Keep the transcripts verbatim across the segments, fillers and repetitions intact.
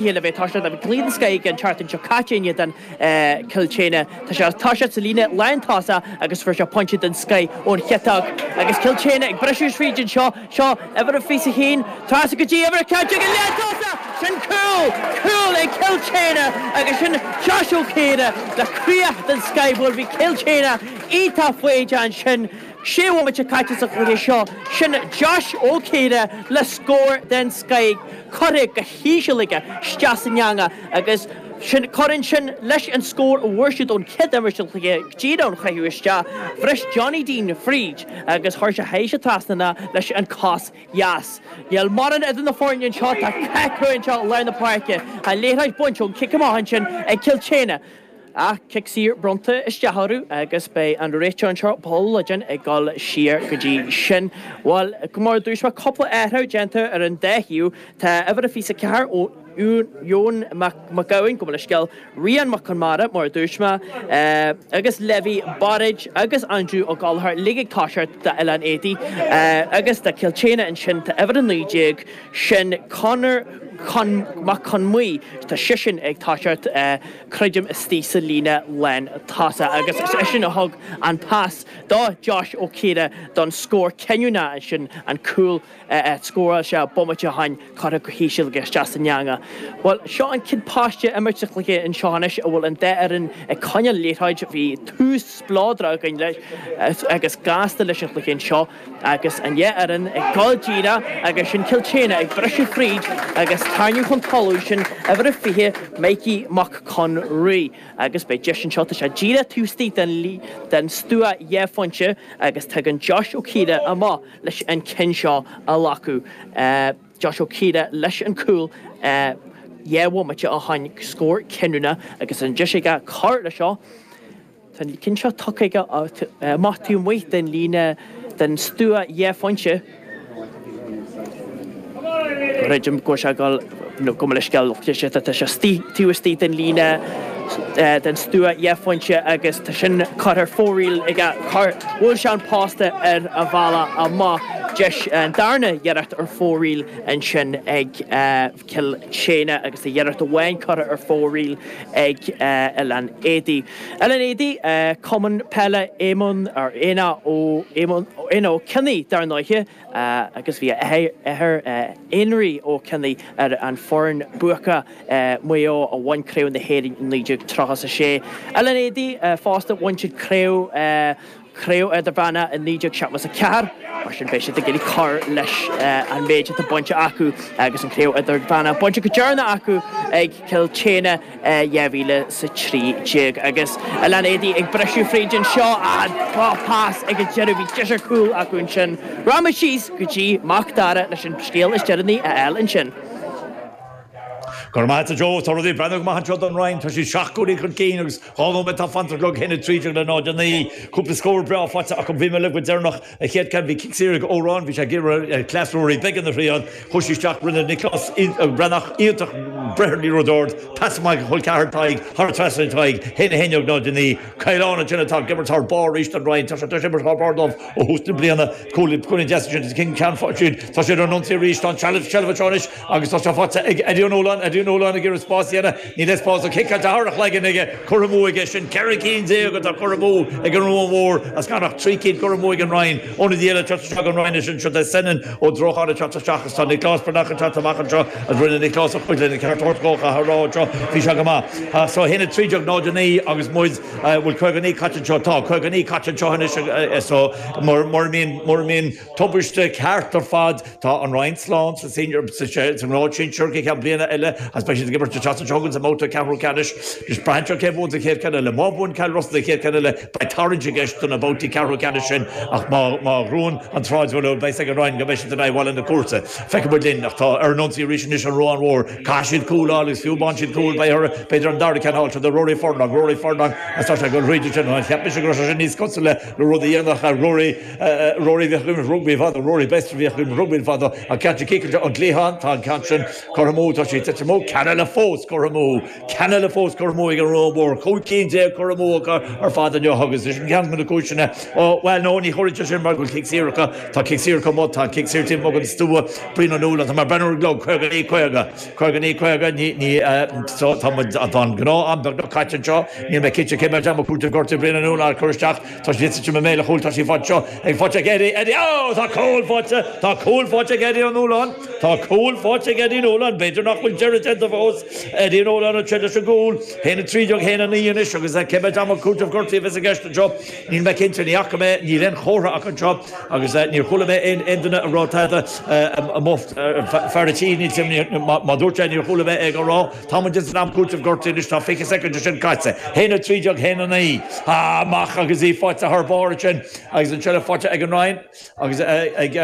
chéile bheith toiseacht a bhí cluiche den scoth aige an tseachtain seo caite in éadan Cill tSéadhna. Tá sé toiseacht sa líne lántosach agus fuair sé pointe den scoth ón chiotach agus Cill tSéadhna ag briseadh fríd anseo. Seo uimhir a fiche a haon, trasna go dtí uimhir a ceathair déag an lántosach! Sin cúl! Cúl ag Cill tSéadhna agus sin Josh Ó Ciardha le críoch den scoth. Bhuel bhí Cill tSéadhna iontach foighdeach ansin. Sé bhomaite caite sa chluiche seo, sin Josh Ó Ciardha le scór den scoth curtha go híseal aige isteach san eangach agus sin cuireann sin leis an scór a bhfuair siad ón chéad imirt den chluiche go díreach ón chaitheamh isteach. Bhris Johnny Deane fríd agus chuir sé théis an trasnán leis an cos dheas. Níl mórán idir na foirne anseo, tá cath crua anseo i lár na páirce. Tá an liathróid bainte ón cic amach ansin ag Cill tSéadhna. Ach cic saor bronnta isteach orthu agus beidh an réiteoir anseo, Paul Ludden, ag dul siar go dtí sin. Bhuel, mar a dúirt mé, cúpla athrú déanta ar an dá thaobh. Tá uimhir a fiche a ceathair ó Eoin Mac Gabhann, gabh mo leithscéal, Rian Mac Conmara, mar a dúirt mé, agus Levi Bairéad agus Andrew Ó Gallchóir uilig ag toiseacht d'Oileán Éadaí agus do Cill tSéadhna ansin tá uimhir a naoi déag, sin Conor Mac Con Muí, tá seisean ag toiseacht, creidim, istigh sa líne lán tosaigh agus is eisean a thug an pas do Josh Ó Ciardha don scór cinniúnach ansin, an cúl a scóráil sé bomaite ó shin, curtha go híseal aige isteach san eangach. Bhuel, seo an chéad paiste imirt sa chluiche anseo anois a bhfuil an dá fhoireann ag coinneáil liathróid. Bhí tús spleodrach againn leis agus gasta leis an chluiche anseo. Agus an dhá fhoireann ag dul díreach agus sin Cill tSéadhna ag briseadh fríd agus tarraingt chun talún sin uimhir a fiche, Mikey Mac Con Rí. Agus beidh deis anseo, tá sé díreach taobh istigh den den stua dhá phointe agus tagann Josh Ó Ciardha amach leis an ceann seo a ghlacadh. Josh Ó Ciardha leis an cúl dhá bhomaite ó shin, scór cinniúnach agus an deis aige cur leis seo. Tá an ceann seo tugtha aige amach taobh amuigh den líne den stua dhá phointe. Creidim go bhfuil sé ag dul, nó gabh mo leithscéal, tá sé taobh istigh den líne den stua dhá phointe agus tá sin curtha ar fóraoil aige. Bhuail sé an posta ar a bhealach amach. Deis an darna iarracht ar fóraoil ansin ag Cill tSéadhna agus tá iarracht amháin curtha ar fóraoil ag Oileán Éadaí. Oileán Éadaí, Cumann Peile Éamonn, or Éanna Ó Éamonn, Éanna Ó Cionnaith dar ndóiche, agus bhí a athair Énrí Ó Cionnaith ar an foireann buacach Maigh Eo a bhain Craobh na hÉireann i naoi déag tríocha a sé. Oileán Éadaí fosta, bhain siad craobh Craobh Idirmheánach i naoi déag seachtó a ceathair, mar sin beidh siad ag iarraidh cur leis an méid atá bainte acu agus an Craobh Idirmheánach bainte go deireanach acu ag Cill tSéadhna i dhá mhíle is a trí déag. Agus Oileán Éadaí ag briseadh fríd anseo, ah pas ag an deireadh, bhí deis ar chúl acu ansin. Rachaimid síos go dtí Mac Dara leis an scéal is deireanaí a fháil ansin. Go raibh maith agat a Joe. Tá rudaí ag breathnú go maith anseo don Rinn. Tá siad seacht gcúilín chun cinn agus dhá nóiméad atá fanta ar an gclog, a haon a trí déag le náid a naoi. Cúpla scór breá faighte acu. Bhí mé libh go deireanach. An chéad ceann bhí cic saor ag Odhrán. Bhí sé ag iarraidh cleas Rory Beggan a thriail. Chuaigh sé isteach. Rinne Nioclás Breathnach iontach breith ar an liathróid ard. Pas amach ag col ceathar Tadhg thar an trasnán Tadhg. A haon a haon déag náid a naoi. Caolán ansin atá ag imirt thar barr arís don Rinn. Tá sé tar éis imirt thar barr dóibh ó thús na bliana. Cúilín deas ansin. Ceann tá siad ar an ionsaí arís. Tá an tseilbh anseo anois. Agus tá sé faighte ag Eddie O'Nolan, Eddie O'Nolan ag iarraidh spás a dhéanamh, níl aon spás ach ciceáilte thar a chloigeann aige, curtha amú aige, sin ceithre cinn déag atá curtha amú ag an Ruán Mhór as gan ach trí cinn curtha amú ag an Rinn. Ionadaí eile ag teacht isteach don Rinn ansin, seo é Senan Ó Drocháin ag teacht isteach agus tá Nioclás Breathnach ag teacht amach anseo agus rinne Nioclás a chuid lena ceart a thabhairt dhó, caithfidh a rá anseo, bhí sé go maith. So a haon a trí déag náid a naoi agus muid, bhfuil caoga naoi caite anseo? Tá caoga naoi caite anseo anois so mura mbíonn, mura mbíonn tubaiste ceart ar fad, Tá an Rinn slán sa senior sa ngrád sinsir go ceann bliana eile agus beidh siad ag imirt an tseachtain seo chugainn sa mbabhta ceathrú ceannais. Just braitheann sé cé bhuann sa chéad ceann eile. Má bhuann Cill Rosa sa chéad ceann eile beidh tarraingt i gceist do na babhtaí ceathrú ceannais sin ach má má ghnóthaíonn an tSráidbhaile beidh a fhios ag an Rinn go mbeidh siad in aghaidh Bhaile na Cúirte. Feicfidh muid linn ach tá ar an ionsaí arís anois an Ruán Mhór. Caithfidh siad cúl a fháil agus fiú má fhaigheann siad cúl beidh orthu b'fhéidir an dara ceann a fháil. Seo do Rory Furlong, Rory Furlong agus tá sé ag dul thríd ansin. Cheap mise go raibh sé sin níos cosúla le rud a dhéanfadh Rory Rory bhíodh ag imirt rugbaí fadó, Rory Best a bhíodh ag imirt rugbaí fadó, an ceann sin ciceáilte ón gcliathán, tá an ceann sin curtha amú, tá sé tite amú, ceann eile fós curtha amú, ceann eile fós curtha amú ag an Ruán Mhór, cúig cinn déag curtha amú acu ar fad inniu agus is ceann de na cúiseanna, ó, bhuel, no, ní chuirfidh sé sin mar go bhfuil cic saor acu, tá cic saor acu amuigh, tá an cic saor taobh amuigh den stua, Brian Ó Nualláin, tá mé ag breathnú ar an gclog, caoga naoi caoga, caoga naoi caoga. beaga ní ní tá an gnáth-am beagnach caite anseo níl mé cinnte cé mhéad am cúiteamh gortaithe Brian Ó Nualláin cur isteach tá sé i mbéal a chúil tá sí faighte anseo ag faighte ag Eddie Eddie ó tá cúl faighte tá cúl faighte ag Eddie Ó Nualláin tá cúl faighte ag Eddie Ó Nualláin b'fhéidir nach bhfuil deireadh déanta fós Eddie Ó Nualláin anseo leis an gcúl haon a trí déag haon a naoi anois agus cé mhéad am cúiteamh gortaithe a bheas i gceist anseo níl mé cinnte ní fhaca mé níl aon chomhartha acu anseo agus níor chuala mé aon aon duine ag rá tada fear a tí níl má dúirt sé níor chuala mé é ag rá tá muid san am cúiteamh gortaithe anois tá fiche soicind de sin caite haon a trí déag haon a naoi amach agus í faighte thar barr ansin agus an tseilbh faighte ag an Rinn agus ag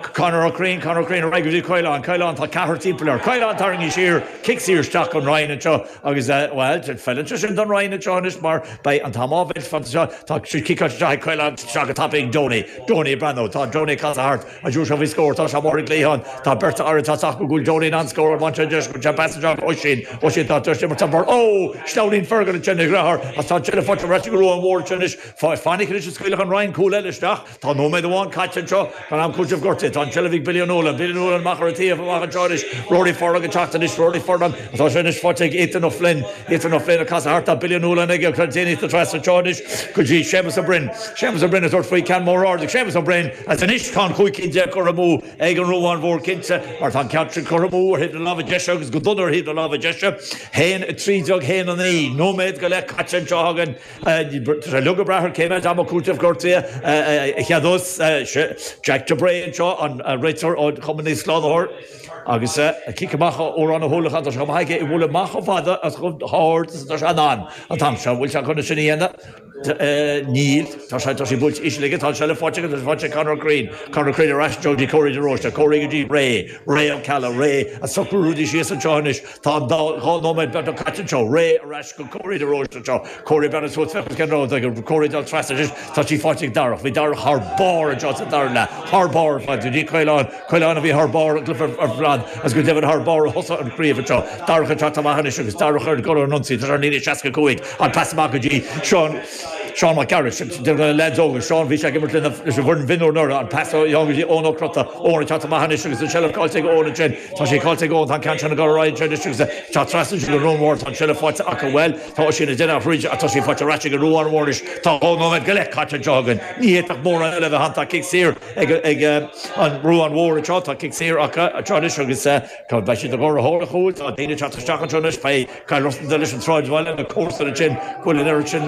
Conor Ó Curraoin, Conor Ó Curraoin ar aghaidh go dtí Caolán, Caolán tá ceathrar timpeall air, Caolán tarraingthe siar, cic saor isteach don Rinn anseo agus bhuel feileann sé sin don Rinn anseo anois mar beidh an t-am á bhaint fanta seo, tá sé ciceáilte isteach ag Caolán isteach go tapaidh ag Donie, Donie ag breathnú, tá Donie ag casadh thart, an uair seo faoi scór, tá sé amuigh ar an gcliathán, tá beirt fhear atá sách go bhfuil Donie in ann scóráil, bhain sé an deis, bhain sé pas isteach Oisín, Oisín tá deis imirt thar barr, ó! Sleamhnaíonn Fergal ansin a dheartháir agus tá an tseilbh faighte ar ais ag an Ruán Mhór anseo anois, fainic anois a scaoilfeadh an Rinn cúl eile isteach. Tá nóiméad amháin caite anseo den am cúitimh gortaithe. Tá an tseilbh ag Billy O'Nolan. Billy O'Nolan amach ar an taobh, amach anseo anois. Rory Furlong ag teacht anois. Rory Furlong. Tá sé anois faighte ag Ethan O'Flynn. Ethan O'Flynn ag casadh thart. Tá Billy O'Nolan aige. Tá déanaí trasna anseo anois go dtí Séamus Ó Broin. Séamus Ó Broin ag tabhairt faoi ceann mór ard ag Séamus Ó Broin. Agus anois tá an chúig cinn déag curtha amú ag an Ruán Mhór cinnte mar tá an ceann sin curtha amú ar thaobh na láimhe deise agus go dona ar thaobh na láimhe deise. Haon a trí déag haon a naoi. Nóiméad go leith caite anseo againn. Tá sé uilig ag brath ar cé mhéad ama cúitimh gortaithe a cheadós Jack de Bray anseo, an réiteoir ó Chumann Naomh Slánaitheoir, agus cic amach ó Odhrán Ó hUallacháin. Tá sé chomh maith aige í a bhualadh amach chomh fada agus chomh hard is atá sé in ann an t-am seo. Bhfuil sé chun é sin a dhéanamh? Níl. Tá sé tá sé buailte íseal aige. Tá an seilbh faighte aige. Tá sé faighte ag Conor Ó Curraoin. Conor Ó Curraoin ar ais anseo go dtí Córaí de Róiste. Córaí go dtí Ray. Ray Ó Ceallaigh. Ray ag socrú rudaí síos anseo anois. Tá an dá dhá nóiméad beagnach caite anseo. Ray ar ais go Córaí de Róiste anseo. Córaí ag breathnú suas féach cén rud ag Córaí dul trasna anois. Tá sí faighte ag Darach. Bhí Darach thar barr anseo sa dara leath. Thar barr ar fad. Go dtí Caolán. Caolán a bhí thar barr an cluiche ar fad agus go deimhin thar barr a thosaigh an chraobh anseo. Darach ag teacht amach anois agus Darach ar dhul ar an ionsaí. Tá sé ar an líne seasca cúig. An pas amach go dtí Seán Seán Mac Gearailt. Duine de na leaids óga. Seán, bhí sé ag imirt leis an bhfoireann mhionúir anuraidh. An pas ó go dtí Eoin Ó Crotta. Eoin ag teacht amach anois agus an tseilbh caillte ag Eoin ansin. Tá sé caillte ag Eoin. Tá an ceann sin ag dul ar aghaidh ansin anois agus tá trasna ansin go Ruán Mhór. Tá an tseilbh faighte acu. Bhuel, tá Oisín ag déanamh thríd ach tá sí faighte ar ais ag an Ruán Mhór anois. Tá dhá nóiméad go leith caite anseo againn. Ní fhéadfadh mórán eile a bheith ann. Tá cic saor ag ag an Ruán Mhór anseo. Tá cic saor acu anseo anois agus beidh siad ag dul ar thóir an chúil. Tá daoine ag teacht isteach anseo anois. Beidh Kyle Russell leis an tsráidbhaile, na comharsana ansin, go bhfuil an oiread sin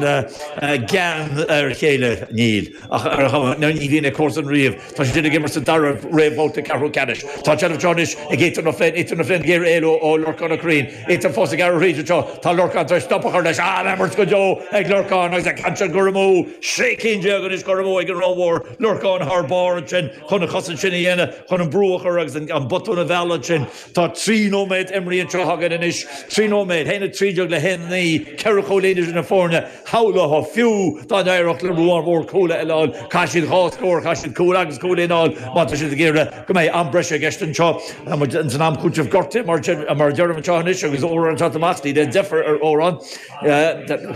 gean ar a chéile. Níl. Ach ar chuma, ní bhíonn ag comharsain riamh. Tá siad ag imirt sa dara réamhbhabhta ceathrú ceannais. Tá an tseilbh anseo anois ag Ethan O'Flynn, Ethan O'Flynn ag iarraidh éalú ó Lorcán Ó Curraoin. Ethan fós ag gearradh thríd anseo. Tá Lorcán tar éis stop a chur leis. An-imirt go deo ag Lorcán agus an ceann sin curtha amú. Sé cinn déag anois curtha amú ag an Ruán Mhór. Lorcán thar barr ansin chun an chosaint sin a dhéanamh, chun an brú a chur agus an botún a mhealladh ansin. Tá trí nóiméad imrithe anseo againn anois. Trí nóiméad, haon a trí déag le haon a naoi, ceithre chúilín idir na foirne. Shamhlófá fiú dá n-éireodh le Ruán Mhór cúl a fháil, caithfidh siad dhá scór, caithfidh siad cúl agus cúilín a fháil má tá siad ag iarraidh go mbeidh am breise i gceist anseo. Tá muid san am cúitimh gortaithe mar a deirim anseo anois agus Odhrán ag teacht amach, níl aon deifir ar Odhrán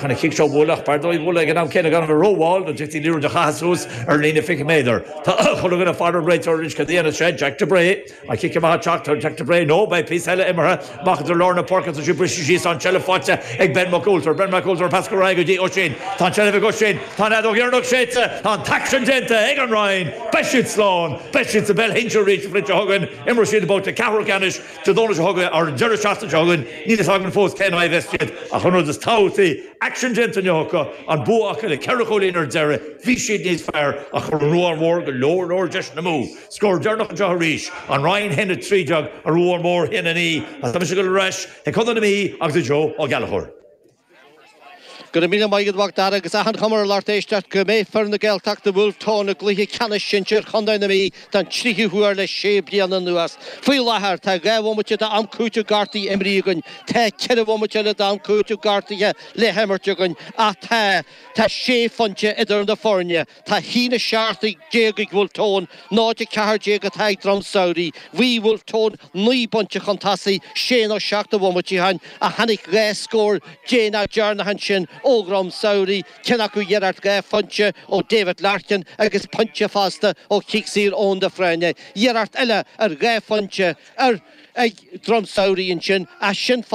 chun an chic seo a bhualadh ach b'fhearr dó í a bhualadh ag an am céanna gan a bheith rómhall nó d'fhéadfaí liathróid a chaitheamh suas ar an líne fiche méadar. Tá chuile dhuine ag faire ar an réiteoir anois cad a dhéanfas sé, Jack de Bray. An cic amach ag teacht ar Jack de Bray nó beidh píosa eile imeartha amach idir lár na páirce tá sí briste síos tá an tseilbh faighte ag Ben Mac Ualtair. Ben Mac Ualtair an pas ar aghaidh go dtí Oisín. Tá an tseilbh ag Oisín. Tá an fheadóg dheireanach séidte. Tá an t-aicsean déanta ag an Rinn. Beidh siad slán. Beidh siad sa bpeil shinsir arís an bhliain seo chugainn. Imreoidh siad babhta ceathrú ceannais Dé Domhnaigh seo chugainn ar an deireadh seachtaine seo chugainn. Níl fhios againn fós cén aghaidh a bheas siad ach an rud is tábhachtaí, aicsean déanta inniu acu, an bua acu le ceithre chúilín ar deireadh. Bhí siad níos fearr ach chuir an Ruán Mhór go leor leor deiseanna amú. Scór deireanach anseo arís, An Rinn a haon a trí déag, An Ruán Mór a haon a naoi, agus tá mise ag dul ar ais chuig Contae na Mí agus ag Joe Ó Gallchóir. Go raibh míle maith agat a Mhac Dara agus achan chuma ar an lucht éisteachta go mbeidh foireann na Gaeltachta Bhulf Tón i gcluiche ceannais sinsir Chontae na Mí don tríú huair le sé bliana anuas. Faoi láthair tá dhá bhomaite d'am cúitimh gortaithe imrithe againn. Tá ceithre bhomaite eile d'am cúitimh gortaithe le himirt againn ach tá tá sé phointe idir na foirne. Tá haon a seacht déag ag Bhulf Tón, náid a ceathair déag atá ag Droim Samhraidh. Bhí Bhulf Tón naoi bpointe chun tosaigh sé nó seacht de bhomaití ó shin ach tháinig dhá scór déanach deireanach ansin ó Dhroim Samhraidh, ceann acu iarracht dhá phointe ó David Larkin agus pointe fosta ó chic saor Eoin de Fréine. Iarracht eile ar dhá phointe ar ag Droim Samhraidh ansin, as sin